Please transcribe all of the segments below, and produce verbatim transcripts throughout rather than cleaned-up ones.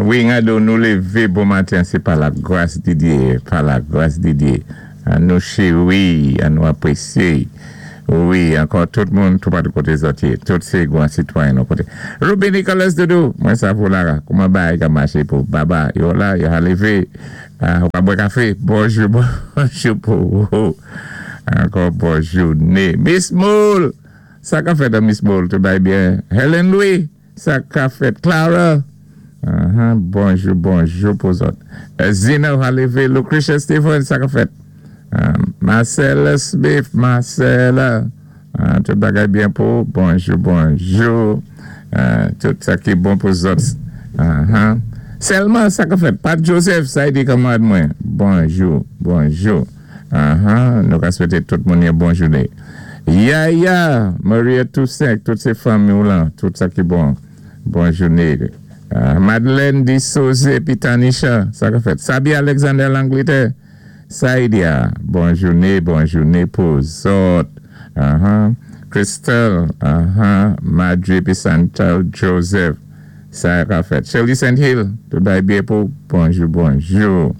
Wi, gado, nou lévé bon maten, sé pa la gwas di Diyé, pa la gwas di Diyé. An nou chéwi, an nou apwésyé. Wi, ankò tout moun, tout patou koté zòt yé. Tout sé gwan sitwayen nou koté. Ruby Nicholas Doudou, mwen savou la, kouman bagay ka maché pou baba, yo la, yo ka lévé, ou ka bwè kafé. Bonjou, bonjou pou ou. Ankò bon jouné. Miss Moule, sa ka fèt Miss Moule, tout bay byen. Helen Louis, sa ka fèt. Clara, uh-huh, bonjou, bonjou pou zòt. Zina ka lévé. Lucretia Stephen, sa ka fèt. Um, Marcella Smith, Marcella, uh, tout bagay byen pou, bonjou, bonjou. Uh, tout sa ki bon pou zòt. Uh-huh. Selma, sa ka fèt. Pat Joseph, sa yi di kanmwad mwen. Bonjou, bonjou. Uh-huh. Nou ka swété tout moun yon bon jouné. Yaya, Maria Toussaint, tout sé fanmi ou lan, tout sa ki bon. Bon jouné. Uh, Madeleine Di Soze, pi Tanisha, sa ka fèt. Sabi Alexander L'Angleterre, sa yi di a. Bon jouné, bon jouné pou zòt. Uh-huh. Crystal, uh-huh. Madri pi Santal Joseph, sa ka fèt. Shirley Saint Hill, tout bay byen pou, bonjou, bonjou.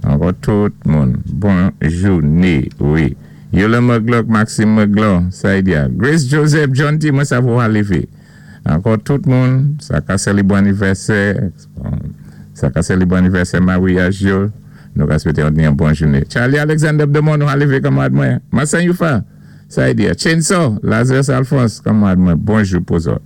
Ankò tout moun, bon jouné, wi. Yola Muglock, Maxime Muglock, sa yi di a. Grace Joseph, John T, mwen sa pou halifi. Ankò tout moun, sa ka sélébwé anivèsè, sa ka sélébwé anivèsè maryaj yo, nou ka swété yon bon jouné. Charlie Alexander Demon, nou halifi kanmwad mwen. Massan Yufa, sa yi di a. Chainsaw, Lazarus Alphonse, kanmwad mwen, bonjou pou zòt.